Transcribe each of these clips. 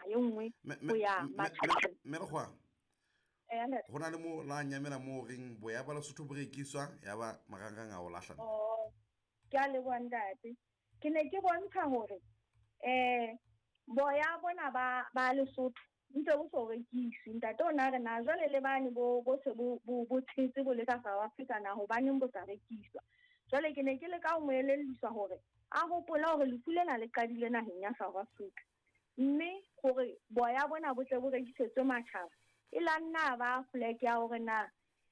naha e nngwe ho ya matjhabeng. Mme Lekgowa, ho na le mo la nyamela mo reng boya ba Lesotho bo rekiswa ya ba marangrang a o lahla. Oh, ke a leboha ntate. Ke ne ke bontsha hore um boya bona ba Lesotho ntse bo so rekiswe. Ntate o na re na jwale le bane bo bo se bo bo tshetse bo le ka South Africa na hobaneng bo sa rekiswa. Jwale ke ne ke leka ho mo elelliswa hore a hopole hore lefu lena le qadile naheng ya South Africa. Mme hore boya bona bo tle bo rekisetswe matjhaba, e la nna ba flag ya hore na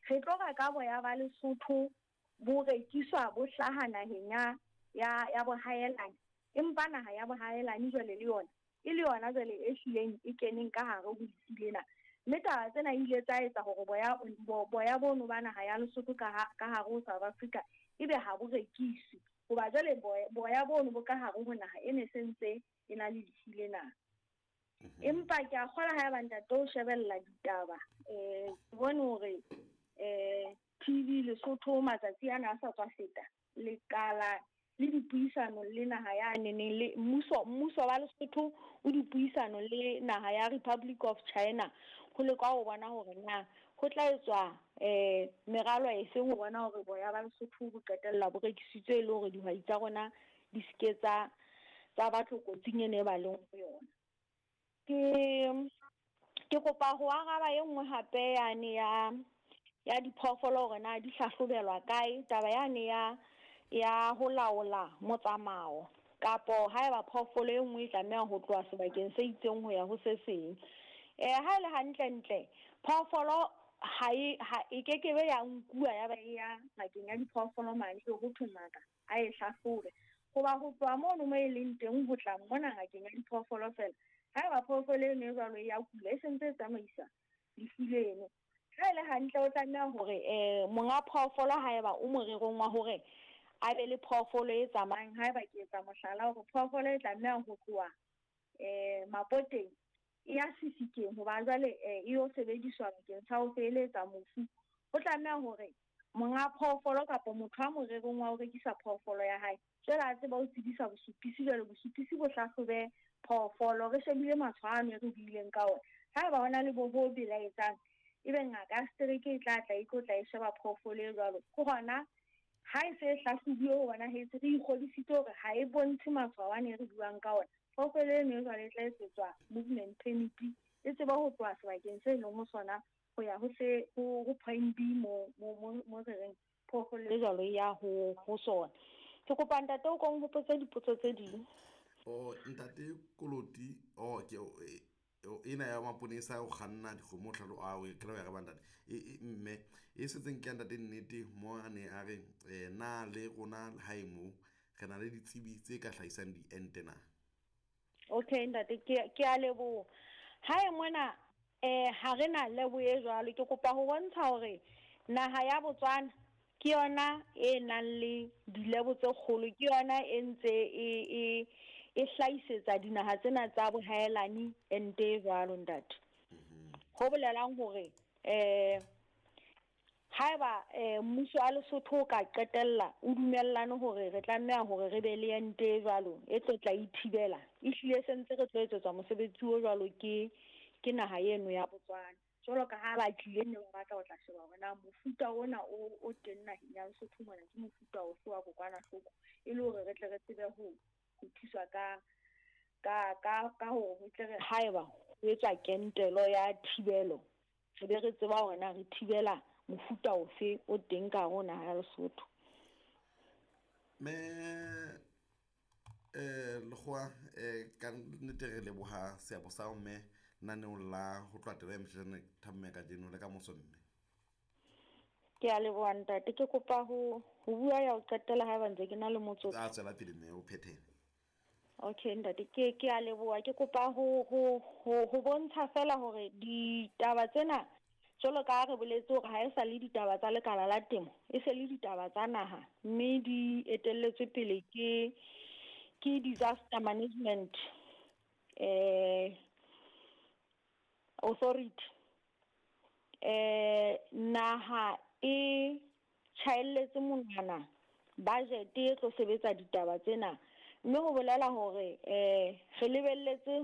re tlo reka boya ba Lesotho bo rekiswa bo hlaha naheng ya ya ya bohaelane, empa naha ya bohaelane jwale le yona e le yona jwale e hlileng e keneng ka hare ho lefu lena. Mme taba tsena ile tsa etsa hore boya boya bono ba naha ya Lesotho ka ka hare ho South Africa ebe ha bo rekiswe. Hoba jwale boya bono bo ka hare ho naha e ne se ntse e na le lefu lena. Empa ke a kgola haeba ntate o shebella ditaba, ke bone hore TV Lesotho matsatsi ana a sa tswa feta, lekala le dipuisano le naha ya neneng le mmuso wa Lesotho o dipuisano le naha ya Republic of China ho leka ho bona hore na ho tla etswa meralo e feng ho bona hore boya ba Lesotho bo qetella bo rekisitswe e le hore dihwai tsa rona di seke tsa ba tlokotsing e ne ba leng ho yona. Ke kopa ho araba e nngwe hape yane ya diphoofolo hore na di hlahlobelwa kae, taba yane ya ho laola motsamao kapo haeba phoofolo e nngwe e tlameha ho tloha sebakeng se itseng ho ya ho se seng. Ha e le hantle ntle phoofolo ha e kekebe ya nkuwa ya ba e ya ngakeng ya diphoofolo mane ho thwe ngaka a e hlahlobe. Hoba ho tloha mono mo e leng teng ho tla mona ngakeng ya diphoofolo fela, haeba phoofolo eno e jwalo e ya kula e sentse e tsamaisa lefu leno. Ha e le hantle o tlameha hore monga phoofolo haeba o morerong wa hore a be le phoofolo e tsamayang, haeba ke etsa mohlala hore phoofolo e tlameha ho tloha Mapoteng e ya Sefikeng hoba jwale e yo sebediswa bakeng sa ho feheletsa mofu, ho tlameha hore monga phoofolo kapa motho a morerong wa ho rekisa phoofolo ya hae jwale a tseba ho tsebisa bosupisi, jwale bosupisi bo hlahlobe phoofolo re shebile matshwao ano e re buileng ka ona. Haeba hona le bo bo belaetsang, ebe ngaka ya setereke e tla tla e tlo tla e sheba phoofolo e jwalo. Ke hona ha e se e hlahlobuwe ho bonahetse re ikgodisitse hore ha e bontshe matshwao ano e re buang ka ona, phoofolo eno e jwale e tla etsetswa movement permit e tsebe ho tloha sebakeng se leng ho sona ho ya ho se ho point B mo mo mo re reng phoofolo e jwalo e ya ho sona. Ke kopa ntate o ko nhopotse dipotso tse ding. Oh ntate Koloti, oh ke ena ya maponesa o kganna dikgomo tlhalo a o kry ya ba ntate mme e setseng ke ya ntate nnete mo a ne a re na le rona hae mo re na le ditsebi tse ka hlahisang diente na? Okay ntate, ke a leboha. Hae mona ha re na lebo e jwalo. Ke kopa ho bontsha hore naha ya Botswana ke yona e nang le dilebo tse kgolo, ke yona e ntse e hlahisetsa dinaha tsena tsa bohaelani ente e jwalo ntate. Ho bolelang hore haeba mmuso wa Lesotho o ka qetella o dumellane hore re tlameha hore re be le ente e jwalo e tlo tla ithibela, ehlile se ntse re tlo etsetswa mosebetsi o jwalo ke naha eno ya Botswana. Jwalo ka ha ba tlile ne ba batla ho tla sheba hore na mofuta ona o teng naheng ya Lesotho mona ke mofuta ofe wa kokwanahloko, e le hore re tle re tsebe ho thuswa ka hore ho tle re haeba ho etswa kentelo ya thibelo, re be re tseba hore na re thibela mofuta ofe o teng ka hare ho naha ya Lesotho. Me Lekgowa, ka nnete re leboha seabo sa mme naneong la ho tloha taba ya motjhana thamme kajeno le ka moso mme. Ke a leboha ntate, ke kopa ho bua ya ho qetela haeba ntse ke na le motsotso. A tswela pele mme o phethele. Okay ntate, ke a leboha. Ke kopa ho bontsha fela hore ditaba tsena jwalo ka re boletse hore ha e sa le ditaba tsa lekala la temo, e se le ditaba tsa naha, mme di etelletswe pele ke disaster management authority. Naha e tjhaelletse monwana budget e tlo sebetsa ditaba tsena, mme ho bolela hore re lebelletse